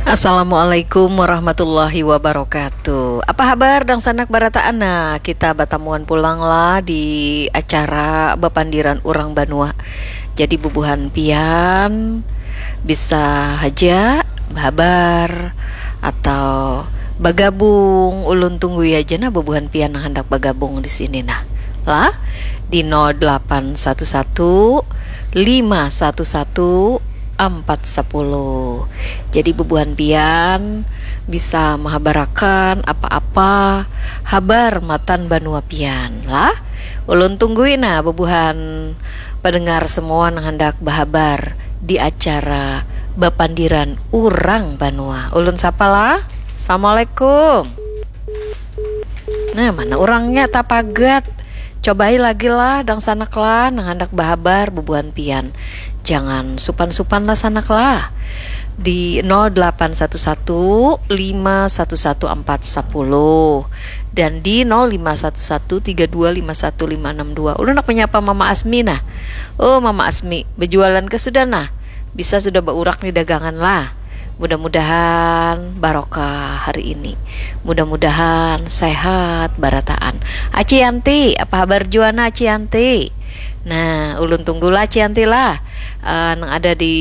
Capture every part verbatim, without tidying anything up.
Assalamualaikum warahmatullahi wabarakatuh. Apa habar dangsanak barataan? Nah, kita batamuan pulang lah di acara bapandiran urang banua. Jadi bubuhan pian bisa haja bahabar atau bagabung, ulun tunggui haja nah bubuhan pian nang handak bagabung di sini nah. Lah, di nol delapan satu satu lima satu satu empat sepuluh. Jadi bubuhan pian bisa mahabarakan apa-apa habar matan banua pian lah. Ulun tunggui nah bubuhan pendengar semua nang handak bahabar di acara bapandiran urang banua. Ulun sapa lah? Assalamualaikum. Nah, mana urangnya tapagat? Cobai lagi lah, dangsanak lah, nang handak bahabar bubuhan pian. Jangan supan-supan lah sanak lah. Di nol delapan satu satu lima satu satu empat sepuluh dan di nol lima satu satu tiga dua lima satu lima enam dua. Ulun nak menyapa Mama Asmi nah. Oh, Mama Asmi, berjualan ke sudah nah? Bisa sudah baurak nih dagangan lah. Mudah-mudahan barokah hari ini. Mudah-mudahan sehat barataan. Aci Yanti, apa habar jua nah Aci Yanti? Nah, ulun tunggulah Aci Yanti lah. Eh, nang ada di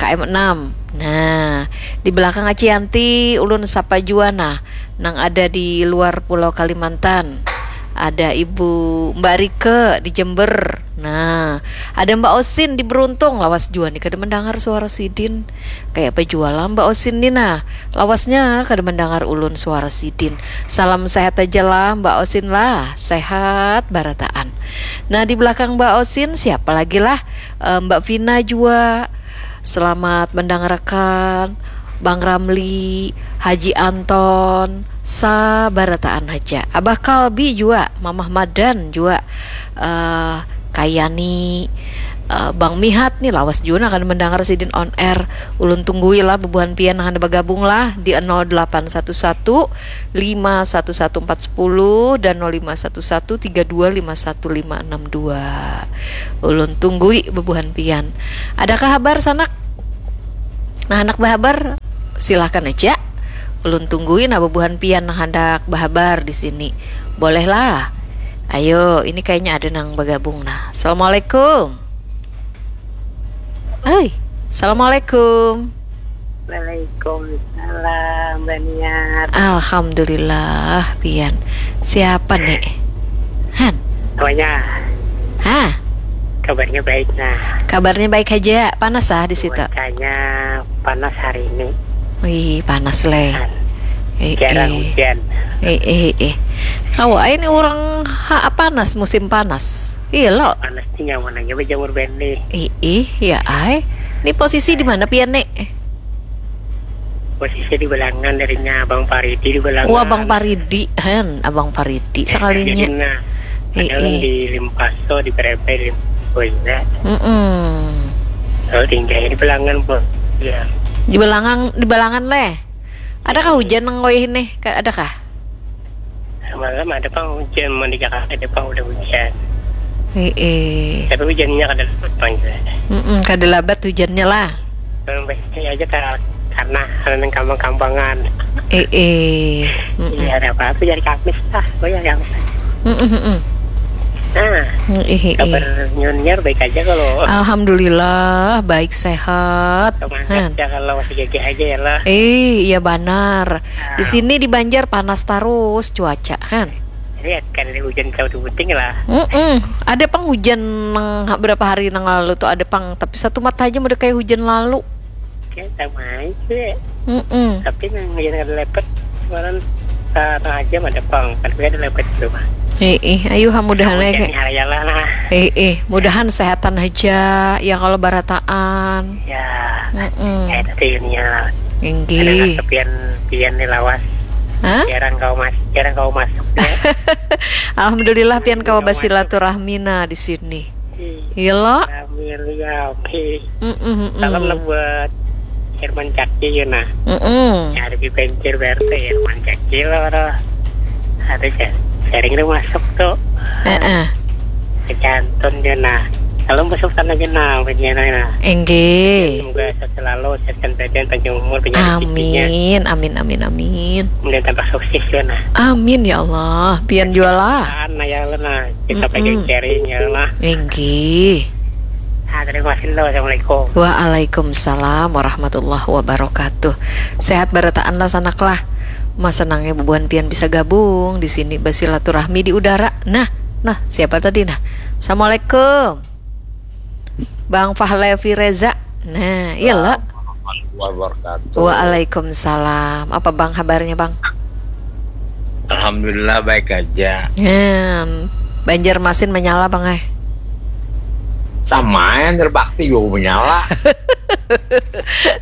K M enam. Nah, di belakang Aci Yanti ulun sapa jua nah, nang ada di luar Pulau Kalimantan. Ada Ibu Mbak Rike di Jember. Nah, ada Mbak Osin di Beruntung. Lawas jua nih kada mendengar suara sidin. Kayak apa jua lah Mbak Osin nih nah. Lawasnya kada mendengar ulun suara sidin. Salam sehat aja lah Mbak Osin lah. Sehat barataan. Nah, di belakang Mbak Osin siapa lagi lah? Eh, Mbak Vina jua. Selamat mendengarkan Bang Ramli, Haji Anton, sabarataan haja. Abah Kalbi jua, Mamah Madan jua, eh, Kayani, eh, Bang Mihat nih lawas jua nah kada mendengar sidin on air. Ulun tunggui lah bubuhan pian nang handak bagabung lah di nol delapan satu satu lima satu satu empat sepuluh dan nol lima satu satu tiga dua lima satu lima enam dua. Ulun tunggui bubuhan pian. Adakah habar sanak? Nah, handak bahabar, silahkan aja. Ulun tunggui nah bubuhan pian nang handak bahabar di sini. Boleh lah. Ayo, ini kayaknya ada nang bagabung nah. Assalamualaikum. Oi, assalamualaikum. Waalaikumsalam, Mbak Niar. Alhamdulillah, pian. Siapa nih? Han. Apanya? Hah? Kabarnya baik nah. Kabarnya baik aja. Panas ah di situ. Cuacanya panas hari ini. Wih, panas leh. Kan. Eh, Jarang eh. Hujan. Eh, eh, eh. Kawa ini orang ha, panas, musim panas. Iya lo. Panas sih nyaman aja berjemur bandi. Ih, ih, ya ai. Ini posisi di mana pian nek? Posisi di Belangan darinya Abang Paridi di Belangan. Wah, Abang Paridi, hen, Abang Paridi sekalinya. Jadi nah, Eh, ada kan eh. Di Limpaso, di Berebe, di Limpaso juga. Mm-mm. Lalu tinggalnya di Belangan, Bu. Ya. Di Belangan, di Belangan leh. Adakah hujan nang wayah ini? Ka- Adakah? Semalam ada pang hujan, mau di Jakarta ada pang udah hujan. Eh, eh. Tapi hujannya kada lebat pang juga. Mm-mm, kada labat hujannya lah. Kalau biasanya aja ka- karena hal yang kambang-kambangan. Eh, eh. Mm-mm. Iya, ada apa-apa jadi Kamis lah, oh ya Kamis. Mm-mm, mm-mm. Nah, Eh, eh, eh. Kabar Nyuniar baik aja kalau. Alhamdulillah, baik sehat. Semangat Han. Ya kalau masih gagah aja ya lah. Eh, iya banar. Di sini di Banjar panas terus cuaca, Han. Lihat kan ada hujan kau di puting lah. Mm-mm. Ada pang hujan nang ha- berapa hari nang lalu tuh ada pang, tapi satu mata aja udah kayak hujan lalu. Oke, sama aja. Mm-mm. Tapi nang hujan kada lebat kemarin, eh, tengah jam ada pang, tapi ada lebat tuh mah. Eh, eh, ayo ha mudahan Hujan aja. Nih hari lah nah. Eh, eh, mudahan sehatan aja ya kalau barataan. Ya, Mm-mm. eh tadi Nyuniar. Inggih. Pian pian nih lawas. Hah? Jarang kau mas, jarang kau masuk ya. Alhamdulillah pian kawa basilaturahmi nah di sini. Iya lo? Amelia, oke. Mm-mm, mm-mm. Salam lah buat Herman Caki ya nah. Mm-mm. Nyari di Banjar B R T Herman Caki lah orang. Ada sih. Sering tuh masuk tuh. Heeh. Kecantun dia nah. Kalau musuh sana gina, begini nah. Inggih. Semoga sehat selalu, sehat dan badan, panjang umur, banyak rezekinya. Amin, amin, amin, amin. Kemudian tambah sukses ya nah. Amin ya Allah. Pian jualah. Nah ya Allah nah, kita Mm-mm. pengen sharing ya Allah. Inggih. Ah, terima kasih lo. Assalamualaikum. Waalaikumsalam warahmatullahi wabarakatuh. Sehat barataan lah sanak lah. Mas senangnya bubuhan pian bisa gabung di sini bersilaturahmi di udara. Nah, nah siapa tadi nah? Assalamualaikum. Bang Fahlevi Reza. Nah, iya lo. Warahmatullahi wabarakatuh. Waalaikumsalam. Apa bang habarnya bang? Alhamdulillah baik aja. Hen, Banjarmasin menyala bang eh. Sama yang berbakti juga menyala.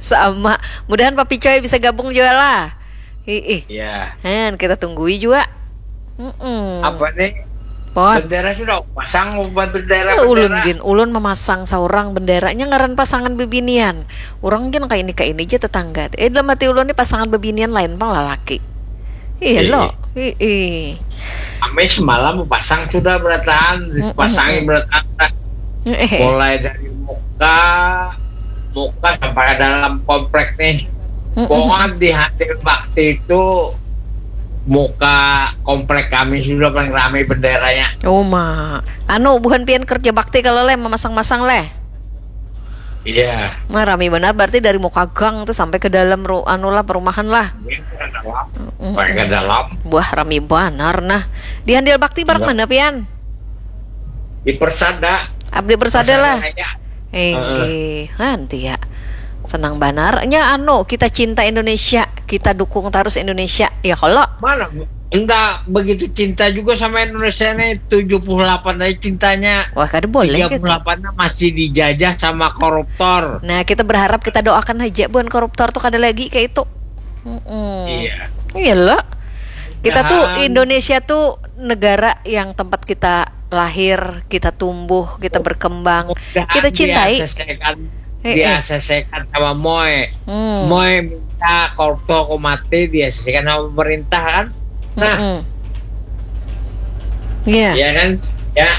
Sama. Mudahan Papi Coy bisa gabung juga lah. Ih, Ya. Hen, kita tunggui juga. Mm-mm. Apa nih? Pot. Bendera sudah pasang, bukan bendera. Eh, ulun Bendera. Gin, ulun memasang seorang benderanya ngaran pasangan bebinian. Orang gin kayak ini kayak ini aja tetangga. Eh dalam hati ulun nih pasangan bebinian lain pang lalaki. Iya Iya. Lo. Ih. Kami semalam pasang sudah berataan, Mm-mm. pasangin berataan. Eh. Mulai dari muka, muka sampai ke dalam komplek nih. Mm-mm. Pokoknya di hasil bakti itu muka komplek kami sudah paling ramai benderanya. Oh ma. Anu buhan pian kerja bakti kalau leh memasang-masang leh. Iya. Nah, rami benar berarti dari muka gang tuh sampai ke dalam ru anu lah perumahan lah. Ini ke dalam, Mm-mm. sampai ke dalam. Wah rami banar nah. Di handil bakti barak Iya. Mana pian? Di Persada. Abdi Persada lah. Raya. Enggih, nanti ya. Senang banarnya anu kita cinta Indonesia, kita dukung terus Indonesia. Ya kalau Mana? Enggak begitu cinta juga sama Indonesia nih. Tujuh puluh delapan aja cintanya. Wah kada boleh gitu. Tiga puluh delapan masih dijajah sama koruptor. Nah kita berharap kita doakan aja bukan koruptor tuh kada lagi kayak itu. Mm-mm. Iya. Iya lo. Kita tuh Jangan. Indonesia tuh negara yang tempat kita lahir, kita tumbuh, kita berkembang, Mudahan kita cintai. Di-A C C-kan, Eh, eh. Di-A C C-kan sama Moe. Hmm. Moe minta koruptor ku mati, di-A C C-kan sama pemerintah kan. Nah, Mm-mm. Iya. Ya kan? Ya.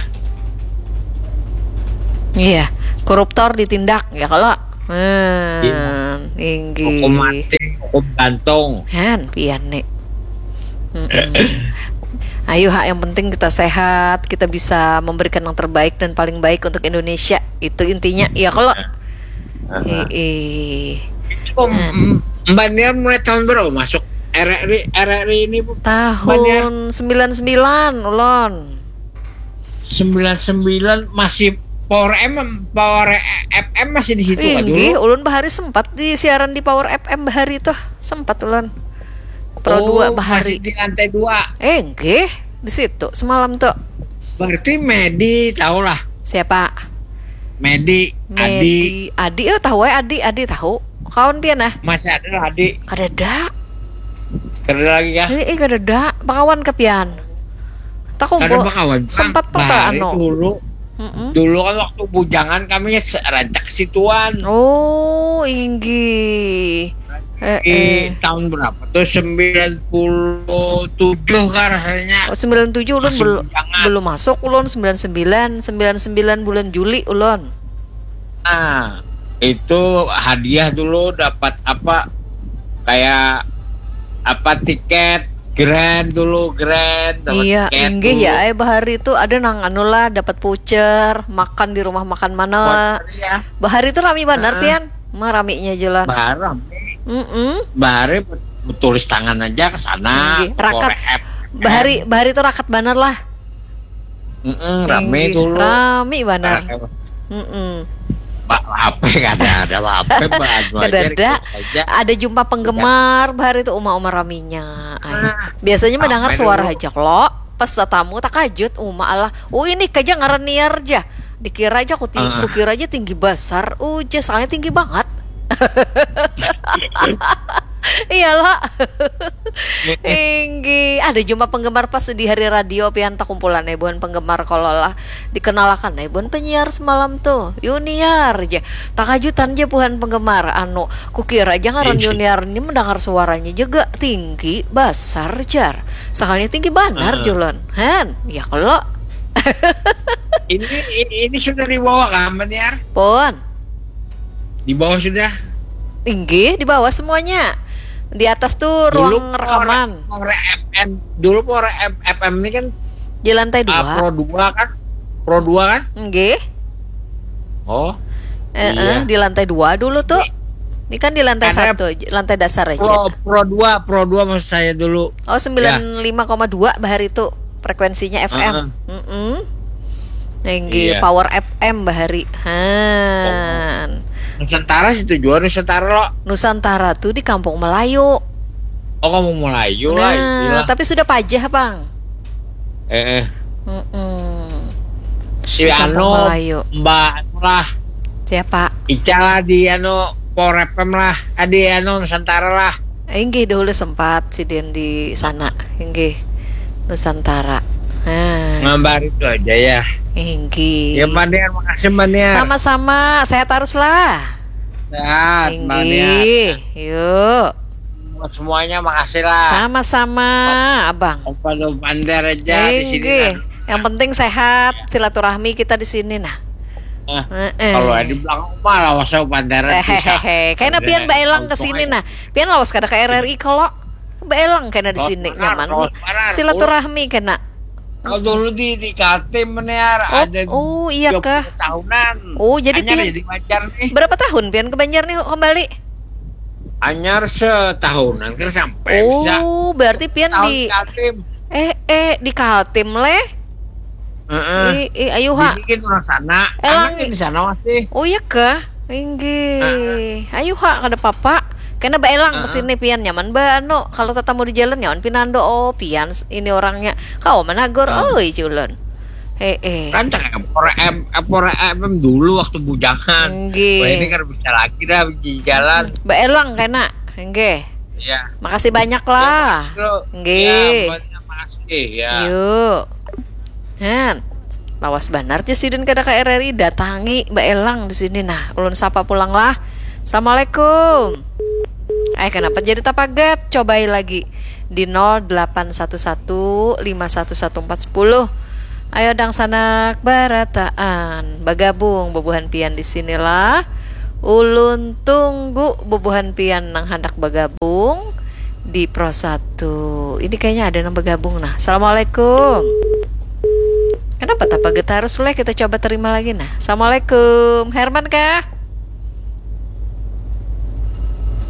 Iya. Koruptor ditindak ya kalau. Hmm, Iya. Inggih. Hukum mati, hukum gantung. Han, pian nih. Mm-mm. Ayo ha, yang penting kita sehat, kita bisa memberikan yang terbaik dan paling baik untuk Indonesia. Itu intinya. Ya kalau. Heeh. Kok m- Mbak Niar mulai tahun berapa masuk R R I, R R I ini, Bu? Tahun sembilan sembilan ulon. Sembilan sembilan masih Power M, Power F M masih di situ kan dulu? Inggih, ulun bahari sempat di siaran di Power F M bahari tuh. Sempat ulon. Pro Oh, dua bahari. Masih di lantai dua. Eh, nggih, di situ semalam tuh. Berarti Medi tahu lah. Siapa? Medi, Adi. Medi, Adi, oh tahu eh Adi, Adi tahu. Kawan pian ah? Masih ada lah Adi. Kadada. Kada lagi kah? Eh, eh kadada. Pakawan ke pian. Tak Kada kumpul. bakawan. Sempat Bang, peta Bari anu. Dulu, Mm-mm. dulu kan waktu bujangan kami se- rancak situan. Oh, inggih. Eh, Di eh. tahun berapa tuh? Sembilan puluh tujuh kah rasanya. Oh, sembilan tujuh ulun Masih bel- bujangan. Belum masuk ulun sembilan sembilan, sembilan sembilan bulan Juli ulun. Nah, itu hadiah dulu dapat apa? Kayak apa, tiket grand dulu, grand, dapat Iya, tiket inggih dulu. Ya, eh bahari itu ada nang anu lah dapat voucher, makan di rumah makan mana. Voucher, ya. Bahari itu rami banar Heeh. pian. Mah raminya jalan. Barang. Mm-mm. Bahari tulis tangan aja ke sana. Inggih, rakat. Korek. Bahari bahari itu rakat banar lah. Mm-mm, rame Inggih, dulu. Rami banar. Rame. Mm-mm. Pak, apa kada ada apa-apa, Pak, anu Kada aja, ada. request aja. Ada jumpa penggemar bahari itu uma-uma raminya. Ai. Nah, Biasanya mendengar rame suara dulu. Aja lo. Pas tatamu takajut uma Allah. Oh ini kaja ngaran Niar aja. Dikira aja ku ting- Ah. kukira aja tinggi besar. Uja soalnya tinggi banget. Iyalah. Tinggi. Ada jumpa penggemar pas di hari radio pian takumpulan eh buhan penggemar kalau lah dikenalakan eh buhan penyiar semalam tuh. Yuniar aja. Takajutan aja buhan penggemar anu kukira aja ngaran Iya. Yuniar ini mendengar suaranya juga tinggi besar jar. Sekalinya tinggi banar Ah. Julon. Han, ya kalau. Ini ini sudah dibawa kah, Maniar? Pun. Di bawah sudah. Inggih, di bawah semuanya. Di atas tuh ruang rekaman. Dulu Pro F M, dulu Pro F M ini kan di lantai ah, dua. Pro dua kan? Pro dua kan? Inggih. Oh. Eh, iya. Eh, di lantai dua dulu tuh. Ini kan di lantai satu, lantai dasar aja. Pro, Pro dua, Pro dua maksud saya dulu. Oh, sembilan lima koma dua bahari tuh frekuensinya F M. Uh -uh. Mm -mm. Nenggi iya. Power F M bahari. Han. Oh. Nusantara situ juga Nusantara lo. Nusantara tuh di Kampung Melayu. Oh, Kampung Melayu nah, lah. Tapi sudah pajah, Bang. Eh, eh. Mm -mm. Si di Kampung anu, Melayu. Mbak anu lah. Siapa? Ica lah di anu Power F M lah. Ah, di anu Nusantara lah. Inggih, dahulu sempat sidin di sana. Inggih. Nusantara. Nah. Ngambar itu aja ya. Inggih. Ya, Mbak Niar, makasih, Mbak Niar. Sama-sama, sehat harus lah. Sehat, Mbak Niar. Inggih. Yuk. Buat semuanya, makasih lah. Sama-sama, Abang. Opa lo bandar aja di sini. Inggih. Yang penting sehat, silaturahmi kita di sini nah. Nah, eh, eh. Kalau di belakang mah lawas saya bandar. Hehehe. Kena pian baelang ke sini nah. Pian lawas kada ke R R I kalau baelang kena di sini nyaman. Silaturahmi kena. Kalau dulu di di Kaltim Maniar oh, ada oh iya kah? Tahunan. Oh, jadi pian, ya di Banjar nih. Berapa tahun pian ke Banjar nih kembali? Anyar setahunan kan sampai oh, bisa. Oh, berarti pian tahun di Kaltim. Eh eh di Kaltim leh. Heeh. Ih, ih, ayo ha. Bikin orang sana. Elang di sana masih. Oh iya kah? Inggih. Ayo ha kada papa. Kena baelang ke sini pian nyaman ba anu kalau tatamu di jalan nyaman pinando oh pian ini orangnya. Kau menagur oi culun. Eh eh. Kan cakap F M dulu waktu bujangan. Inggih. Wah, ini kan bisa lagi dah di jalan. Baelang kena. Inggih. Iya. Makasih banyak lah. Inggih. Ya, makasih ya. Yuk. Han, lawas banar ja sidin kada ka R R I, datangi baelang di sini nah. Ulun sapa pulang lah. Assalamualaikum. Eh, kenapa jadi tapagat? Cobai lagi di nol delapan satu satu lima satu satu empat sepuluh. Ayo dangsanak barataan bagabung bubuhan pian di sinilah. Ulun tunggu bubuhan pian nang handak bagabung di Pro satu. Ini kayaknya ada nang bergabung nah. Assalamualaikum. Kenapa tapa getarus leh kita coba terima lagi nah. Assalamualaikum. Herman kah?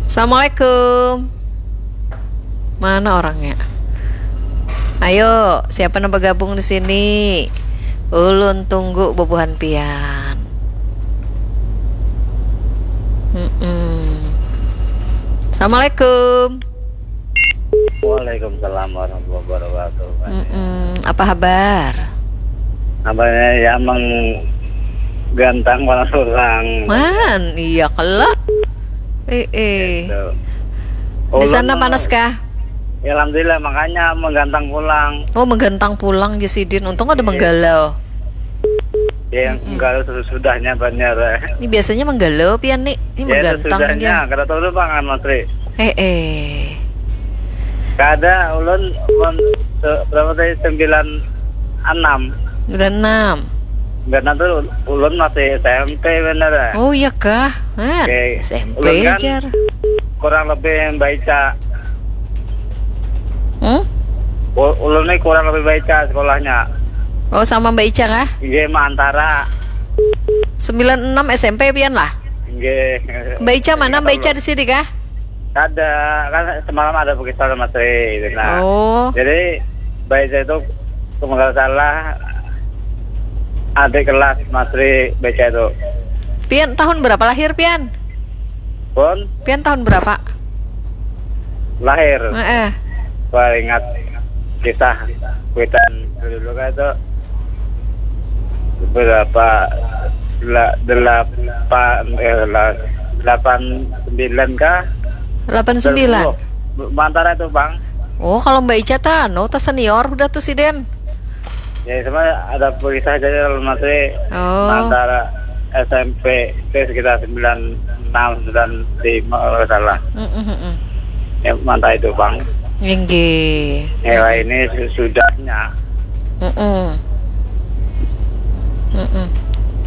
Assalamualaikum. Mana orangnya? Ayo, siapa nang bergabung di sini? Ulun tunggu bubuhan pian. Mm-mm. Assalamualaikum. Waalaikumsalam warahmatullahi wabarakatuh. Mm-mm. Apa habar? Abahnya ya emang gantang panas orang. Man, iya kela. Eh, eh. Gitu. Di sana panas kah? Ya alhamdulillah makanya menggantang pulang. Oh, menggantang pulang ya sidin. Untung ada iya. Menggalau. Ya, mm -mm. Menggalau sesudahnya banyak. Ini biasanya menggalau pian nih. Ini ya, menggantang ya. Kada tahu bang Mas Tri. Eh, eh. Kada, ulun, ulun berapa tadi sembilan enam. Sembilan enam. Sembilan enam tuh ulun masih S M P bener ya. Oh iya kah? Man, okay. S M P ulun kan jar. Kurang lebih baca. Hmm? Ulun ini kurang lebih baca sekolahnya. Oh sama Mbak Ica kah? Iya, antara. Sembilan enam S M P pian lah. Nggih. Mbak Ica mana? Mbak Ica di sini kah? Ada, kan semalam ada pakistan sama Tri gitu. Nah, oh. Jadi Mbak Ica itu kalau nggak salah adik kelas Mas Tri Mbak Ica itu. Pian tahun berapa lahir pian? Pun? Pian tahun berapa? Lahir. Heeh. Wah, ingat kisah kuitan dulu kan itu berapa delapan eh delapan sembilan kah? Delapan sembilan. Mantara itu bang. Oh kalau Mbak Ica ta anu ta senior udah tuh si Den. Ya cuma ada berita aja kalau masih oh. Antara S M P itu sekitar sembilan enam sembilan lima kalau salah. Mm -mm. Ya, mantap itu bang. Inggih. Ya ini sudahnya. Mm -mm. Mm-mm.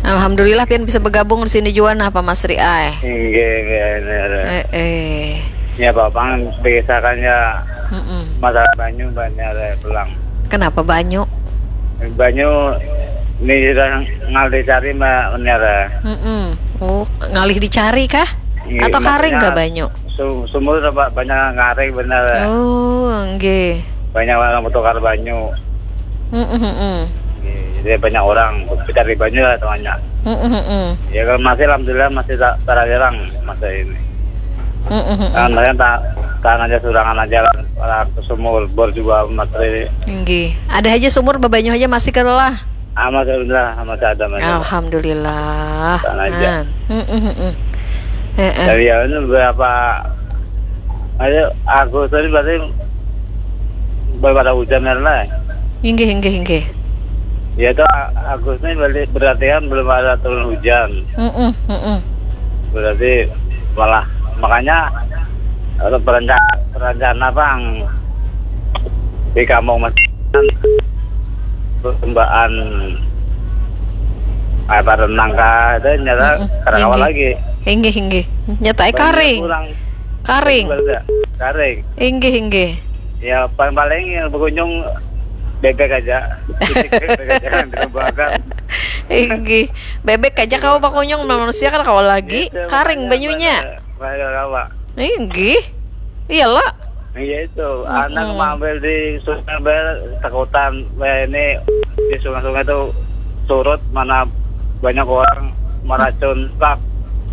Alhamdulillah pian bisa bergabung di sini jua nah, Pak Masri ai. Inggih, inggih, inggih. Eh, eh. Ya, Bapak, biasakan ya Mm-mm. masalah banyu banyak ada pulang. Kenapa banyu? Banyu ini sudah ngal dicari, Mbak, benar. Mm-mm. Oh, ngalih dicari kah? Iya, Atau karing maksudnya kah banyu? Su- sumur tempat banyak ngaring benar. Oh, nggih. Banyak orang bertukar banyu. Mm-mm, mm-mm. Iya, jadi banyak orang mencari banyu lah temannya. Mm-mm, mm-mm. Ya, kalau masih alhamdulillah masih tak terhalang masa ini. Mm-mm, mm-mm. Kan mereka tak tahan aja, surangan aja lah, orang ke sumur bor juga masih Nggih. Ada aja sumur bebanyu aja masih kelah. Amat alhamdulillah, masih ada, masih ada. Alhamdulillah. Sana aja. Nah. Mm-mm, mm-mm. Heeh. Dari ya ini berapa ayo Agustus ini berarti baru pada hujan kan lah. Inggih, inggih, inggih. Ya itu A- Agustus ini berarti, berarti kan belum ada turun hujan. Mm-mm, mm-mm. Berarti malah makanya ada perencana, perencana, Bang, di kampung masih perlombaan apa renang kah itu nyata Mm-mm. kada kawa Inggih. Lagi. Inggih, inggih. Nyatai Banyak karing. Kurang Karing. Karing. Inggih, inggih. Ya paling-paling yang berkunjung bebek aja. Titik bebek aja yang dilombakan. Inggih. Bebek aja kawa bakunyung, manusia kan kawa lagi. Gitu, Karing makanya banyunya. Pada, pada kawa. Inggih. Iyalah. Iya itu, anak mengambil di sungai, bayar takutan, bayar ini di sungai-sungai itu surut, mana banyak orang meracun pak.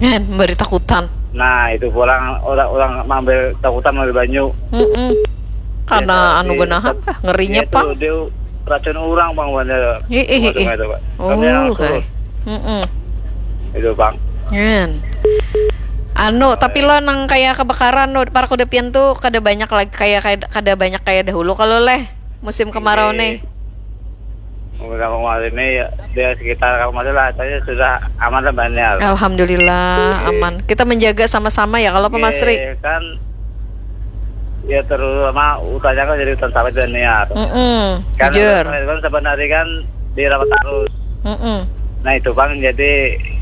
Kan beri takutan. Nah itu pulang orang-orang mengambil takutan, mengambil banyu. Mm-mm. Karena Ya, anu di- benar apa? Ngerinya Ya, pang. Itu dia racun orang bang, bener. Ih, ih, ih, ih. Sungai itu, Pak. Oh, Tapi yang oke. surut Mm-mm. Itu bang. Kan. Anu, tapi lo nang kayak kebakaran lo, para kuda pian tuh kada banyak lagi kayak, kayak kada banyak kayak dahulu kalau leh musim kemarau Iya. Nih. Udah kemarin ini ya, di sekitar kampung masih lah, saya sudah aman lah banyak. Alhamdulillah Iya. Aman. Kita menjaga sama-sama ya kalau Pak Masri. Iya, kan ya terutama utanya kan jadi hutan sawit dan niat. Mm-mm. Kan Jujur. Hutan sawit kan sebenarnya kan dirawat terus. Mm-mm. Nah itu bang, jadi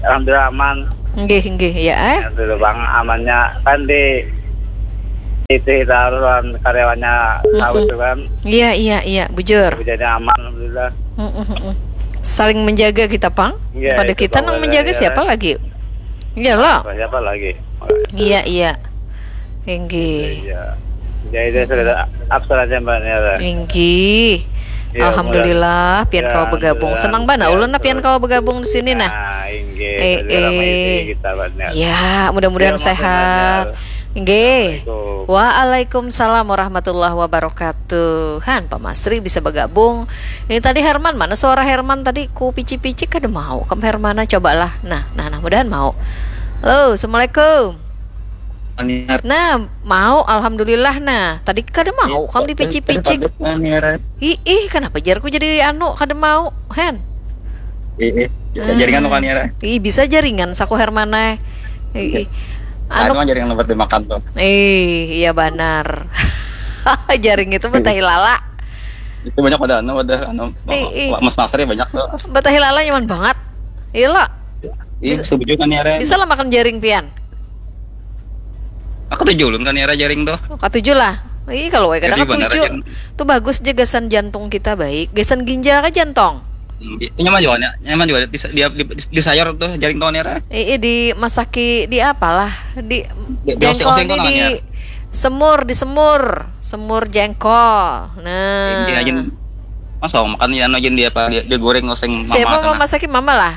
alhamdulillah aman. Nggih, nggih, ya eh. Yang dulu bang amannya kan di itu taruhan karyawannya sawit itu kan. Iya, iya, iya, bujur. Jadi aman alhamdulillah. Mm-mm, mm-mm. Saling menjaga kita pang. Iya, Pada itu kita bang, nang iya, menjaga iya. Siapa lagi? Iya lah. Siapa lagi? Iya, iya. Inggih. Iya. Jadi dia sudah absen aja mbak Nera. Inggih. Ya, Alhamdulillah, pian ya, kawa bergabung. alhamdulillah. Senang banget Ya, ulun nah pian betul. Kawa bergabung di sini nah. Nah, inggih. Eh, Sudah ramai eh. di kita mbak Nera. Ya, mudah-mudahan Ya, maafin sehat. Nera. Inggih. Assalamualaikum. Waalaikumsalam warahmatullahi wabarakatuh. Han, Pak Masri bisa bergabung. Ini tadi Herman, mana suara Herman tadi ku pici-pici kada mau. Kam Hermana cobalah. Nah, nah, nah, mudahan mau. Halo, assalamualaikum. Aniar. Nah, mau alhamdulillah nah. Tadi kada mau kam dipicik-picik. Ih, ih, kenapa jarku jadi anu kada mau, Hen? Ih, ih. Jaringan tuh kan ya. Ih, bisa jaringan saku Hermana. Ih, ih. Anu Anu, kan jaringan lebat dimakan tuh. ih, iya banar. Jaring itu betahi lala. Itu banyak pada anu, pada anu Ih, ih. Mas Masri banyak tuh. Betahi lala nyaman banget. Iya lah. Iya, Bisa- setuju kan ya. Bisa lah makan jaring pian. Aku tujuh ulun kan ya jaring tuh. Katujuh lah. Ih, kalau wae kada Jadi benar katujuh. aja. Tuh bagus je gasan jantung kita baik. Gasan ginjal ka jantung. Hmm, itu nyaman juga, nyaman juga di, di, di, di sayur tuh jaring tuh ya. Ih, ih, dimasaki di apalah? Di Di- jengkol dioseng-oseng nih tuh di namanya. Semur, di semur. Semur jengkol. Nah. Ini aja masuk makan ya anu aja dia apa dia, dia goreng oseng mama. Siapa Tuh, nah. Mamasaki mama lah?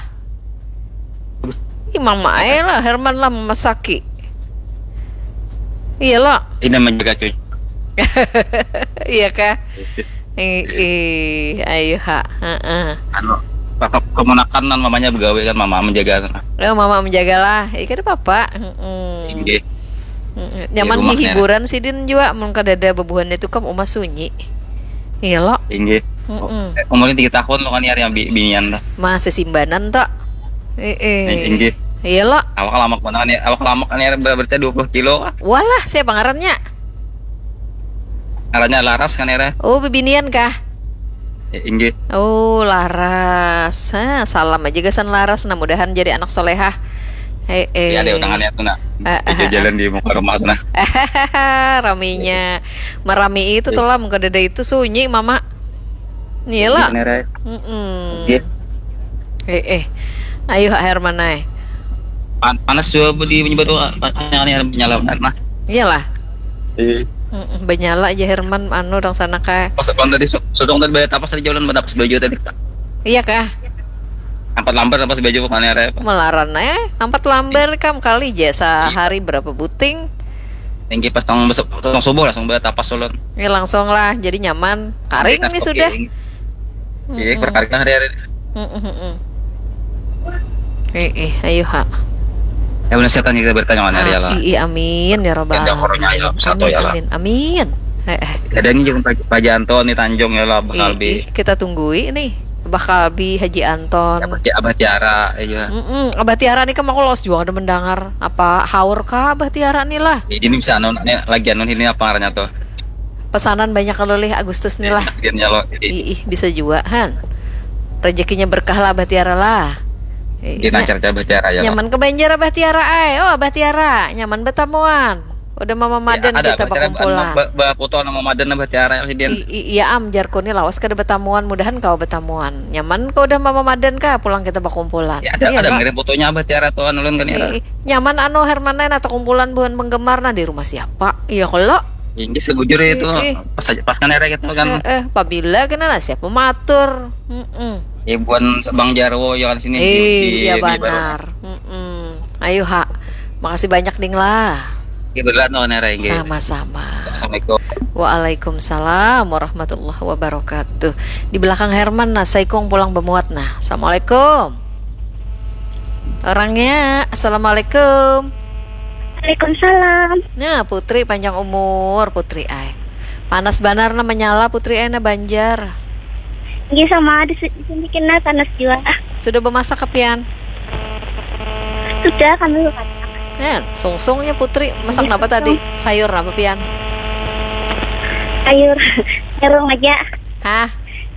Ih, mama ae lah, Herman lah mamasaki. Iya lo. Ini menjaga cuy. Iya kah? Ih, ih, ayo ha. Heeh. Anu apa kemenakan nan mamanya begawe kan mama menjaga. Oh, mama menjagalah. Iya kada apa-apa. Heeh. Inggih. Heeh. Nyaman Di rumahnya. Hiburan sidin juga mun kadada bebuhan itu kam umah sunyi. Iya lo. Inggih. Heeh. Eh, umurnya tiga tahun lo kan ya yang bi- binian dah. Masih simbanan tok. Eh, eh. Eh, inggih. Iya lo. Awak lamak mana kan ya? Awak lamak kan ya berarti dua puluh kilo kah? Walah, siapa ngarannya? Ngarannya Laras kan ya? Oh, bebinian kah? Eh, inggih. Oh, laras. Ha, salam aja gasan laras. Nah, mudahan jadi anak solehah. Eh, eh. Ya, ada tangannya tuh, nah. Eh, eh, jalan di muka rumah tuh, nah. Raminya. Merami itu tuh lah, muka dada itu sunyi, Mama. Iyalah. Iya, mm -mm. Eh, eh. Ayo, Herman, ay. Pan panas juga di menyebut tuh, yang ini ada menyala, nah. Iyalah. Iya. Banyala aja Herman, anu, orang sana kayak. Pas kan tadi sodong tadi bayar tapas tadi jalan, tapas baju tadi. Iya kah? Empat lambar tapas baju, mana ada apa? Melaran, eh, empat lambar kam kali aja sehari berapa buting? Tinggi pas tong, tong subuh langsung bayar tapas ulun. Ya langsung lah, jadi nyaman. Karing nih sudah. Iya, berkaring lah hari-hari. Eh, eh, ayo ha. Ya benar setan kita bertanya mana ya lah. Iya, amin ya robbal alamin. Amin, amin, amin. Eh, eh. Ada ini juga Paja Anton nih Tanjung ya lah, bakal bi. Kita tunggui nih, bakal bi Haji Anton. Abah, Abah Tiara ya. Mm -mm. Abah Tiara nih kan aku los juga ada mendengar. Apa haur kah Abah Tiara nih lah? Ini bisa anu, lagi anu ini apa ngarannya tuh? Pesanan banyak kalau lih Agustus nih lah. Iya, ih, ih, bisa juga han. Rezekinya berkah lah Abah Tiara lah. Iya, lancar Abah Tiara ya. Nyaman ke Banjar Abah Tiara ay. Oh Abah Tiara, nyaman betamuan. Udah mama madan ya, ada, kita bakumpulan. Ba, ba foto nama madan Abah Tiara ya, Din. Iya am jarku nih lawas kada betamuan, mudahan kau betamuan. Nyaman kau udah mama madan kah pulang kita bakumpulan. Ya, ada, iya, ada ngirim fotonya Abah Tiara tuh ulun kan ya. Nyaman anu Herman nah kumpulan buhan penggemar nah di rumah siapa? Iya kalau Inggih sebujur itu pas pas kan era gitu kan. Eh, eh pabila kena lah siapa matur. Mm -mm. Ya buan Bang Jarwo ya kan sini eh, di, iya di, benar. Mm -mm. Ayo ha. Makasih banyak ding lah. Ya benar no nera inggih. Sama-sama. Assalamualaikum. Waalaikumsalam warahmatullahi wabarakatuh. Di belakang Herman nah saikung pulang bemuat nah. Assalamualaikum. Orangnya, assalamualaikum. Waalaikumsalam. Nah, Putri panjang umur, Putri ai. Panas banar nah menyala Putri ai nah Banjar. Iya sama di sini kena panas juga. Sudah bemasak kepian? Sudah kami masak. Nah, sungsungnya Putri masak apa tadi? Sayur apa pian? Sayur terong aja. Hah?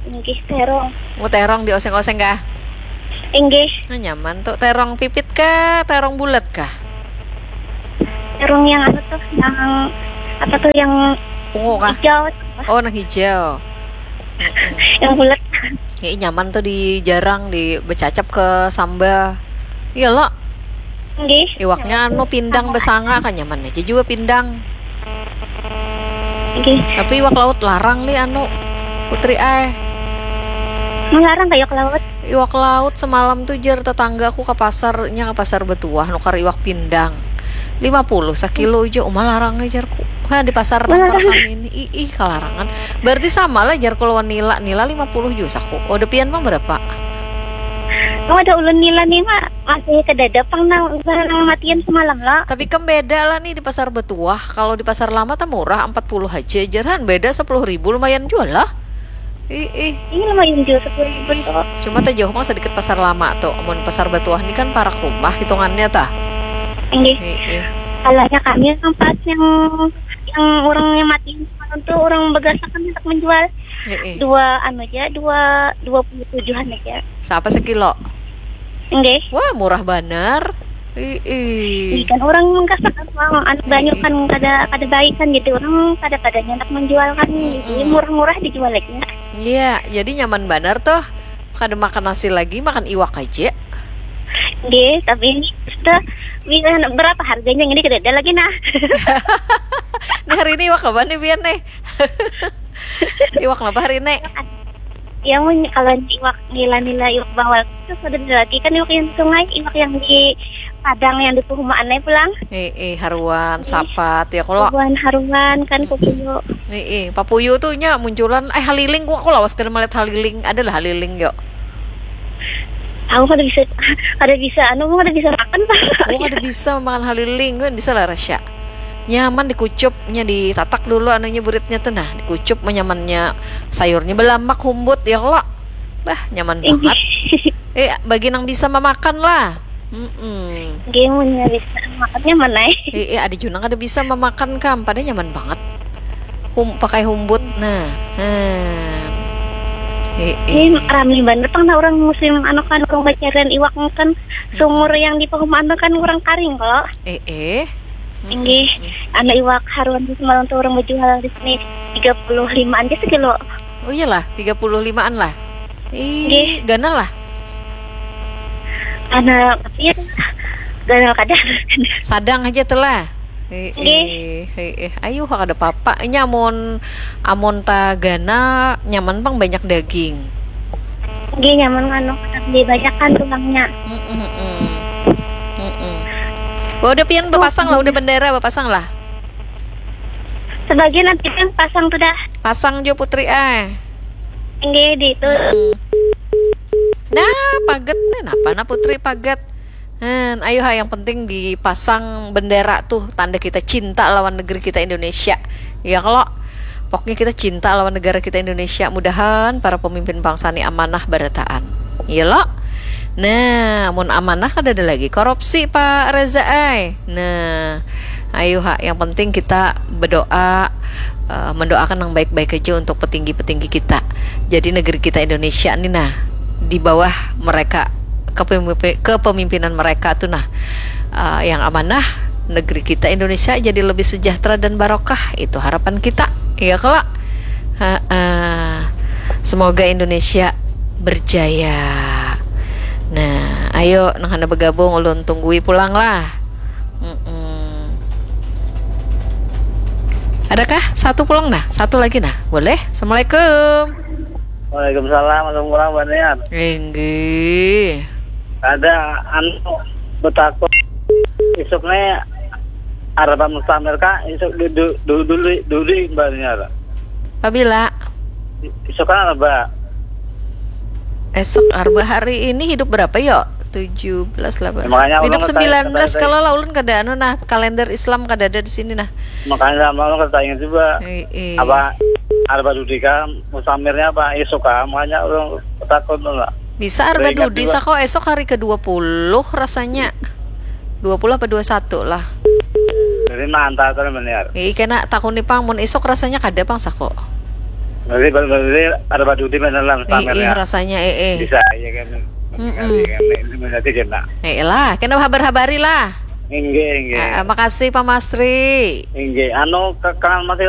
Inggih terong. Mau terong dioseng-oseng kah? Inggih. Nah, nyaman tuh. Terong pipit kah? Terong bulat kah? Terong yang anu tuh, yang apa tuh yang ungu kah? Hijau. Oh, nang hijau. Yang bulat. Ya, nyaman tuh di jarang di becacap ke sambal. Iya lo. Nggih. Iwaknya anu pindang besanga kan nyaman aja juga pindang. Nggih. Tapi iwak laut larang li anu Putri ai. Melarang kayak laut. Iwak laut semalam tuh jar tetangga aku ke pasarnya ke pasar betuah nukar iwak pindang. Lima puluh sakilo aja uma larang nih jarku. Ha di pasar nukar kami ini. Ih, ih kalarangan. Berarti sama lah jarku lawan nila. Nila lima puluh juga saku. Oh, depian mah berapa? Oh, ada ulun nila nih mak masih kedada pang nang matian semalam lah. Tapi kan beda lah nih di pasar betuah. Kalau di pasar lama tuh murah empat puluh aja jarhan beda sepuluh ribu lumayan jual lah. Ih, ih. Ini lumayan jauh sepuluh ribu tuh. Cuma tak jauh mah sedikit pasar lama tuh. Amun pasar batuah ini kan parak rumah hitungannya tah. Inggih. Ih, ih. Kalanya kami yang pas yang yang orang yang mati semalam tuh orang begasakan untuk menjual ih, ih. Dua anu aja dua dua puluh tujuhan aja. Siapa sekilo? Inggih. Wah murah banar. Ih, ih. Kan orang menggasak kan uang anu banyak kan kada kada baik kan gitu orang kada padanya nak menjual kan jadi murah-murah dijual aja. Iya, jadi nyaman banar tuh. Kada makan nasi lagi, makan iwak aja. Nggih, tapi ini sudah berapa harganya ini kada ada lagi nah. Nah hari ini iwak apa nih Bian nih? Iwak apa hari ini? Ya mun kalau iwak nila-nila iwak bawal itu sudah ada lagi kan iwak yang sungai, iwak yang di Padang yang di perumahan pulang. Eh, eh, haruan, sapat ya kalau. Haruan, haruan kan papuyu. Eh, eh, papuyu tuh nya munculan eh haliling aku lawas kada melihat haliling. Adalah haliling yuk. Aku kada bisa kada bisa anu kada bisa makan. Oh, kada bisa makan haliling kan bisa lah Rasya. Nyaman dikucup nya ditatak dulu anunya buritnya tuh nah dikucup menyamannya sayurnya belamak humbut ya kalau. Bah, nyaman banget. Eh, bagi nang bisa memakan lah. Mm-mm. Game bisa makannya mana? Eh, eh, ada juga kada bisa memakan kam, pada nyaman banget. Hum, pakai humbut, nah, hmm. Eh, Ini eh. rami banget pang nah orang musim anu kan orang bacarian iwak kan sumur yang di pahumaan tu kan orang karing kalo. Eh, eh. Inggih, anu iwak haruan di semalam tu orang bajual di sini tiga puluh limaan ja sekilo. Oh iyalah, tiga puluh limaan lah. Ih, Nggih. Ganal lah. Ganal tapi ya ganal kada. Sadang aja tuh lah. Eh, Nggih. eh, eh, eh. Ayo kada apa-apa. Ini amun amun ta ganal nyaman pang banyak daging. Nggih nyaman anu lebih banyak kan tulangnya. Mm-mm, mm-mm. Mm-mm. Wah, udah pian bapasang lah, udah bendera bapasang lah. Sebagian nanti kan pasang tu dah. Pasang jo Putri ah. Nggih di itu. Hmm. Nah, paget nih, napa nah Putri paget? Hmm, ayo ha, yang penting dipasang bendera tuh tanda kita cinta lawan negeri kita Indonesia. Ya kalau pokoknya kita cinta lawan negara kita Indonesia. Mudahan para pemimpin bangsa ini amanah barataan. Iya lo? Nah, mun amanah kada ada lagi korupsi Pak Reza ay. Nah, ayo ha, yang penting kita berdoa eh, mendoakan yang baik-baik aja untuk petinggi-petinggi kita. Jadi negeri kita Indonesia ini nah di bawah mereka kepemimpi- kepemimpinan mereka tuh nah eh, yang amanah negeri kita Indonesia jadi lebih sejahtera dan barokah itu harapan kita ya kalau Ha-ah. Semoga Indonesia berjaya. Nah, ayo nang hendak bergabung ulun tunggui pulang lah. Mm-mm. Adakah satu pulang nah? Satu lagi nah. Boleh? Assalamualaikum. Waalaikumsalam, assalamualaikum Mbak Nian. Enggih. Ada anu betakut isuknya Arab Mustamir kak isuk dulu dulu dulu dulu Mbak Nian. Pabila? Isuk kan Arab. Esok Arba hari ini hidup berapa yo? Tujuh belas, delapan. Makanya Hidup ulun sembilan belas kata- kalau lah ulun kada anu nah kalender Islam kada ada di sini nah. Makanya sama ulun kata ingat juga. Eh, eh. Apa Arba Dudi kan Mustamirnya apa isuk kan makanya ulun takut lah. Bisa Arba Ingat Dudi juga. Sako esok hari ke dua puluh rasanya. Dua puluh apa dua satu lah. Jadi mantap tuh benar. Ih, kena takuni pang mun esok rasanya kada pang Sako. Jadi berarti Arba Dudi benar lah Ih, Mustamirnya. Rasanya eh eh. Bisa ya kan. Mm-mm. Iya kan. Ini berarti kena. Eh lah, kena habar-habari lah. Inggih, inggih. Ah, ah, makasih Pak Mastri. Inggih, anu ke- kangen masih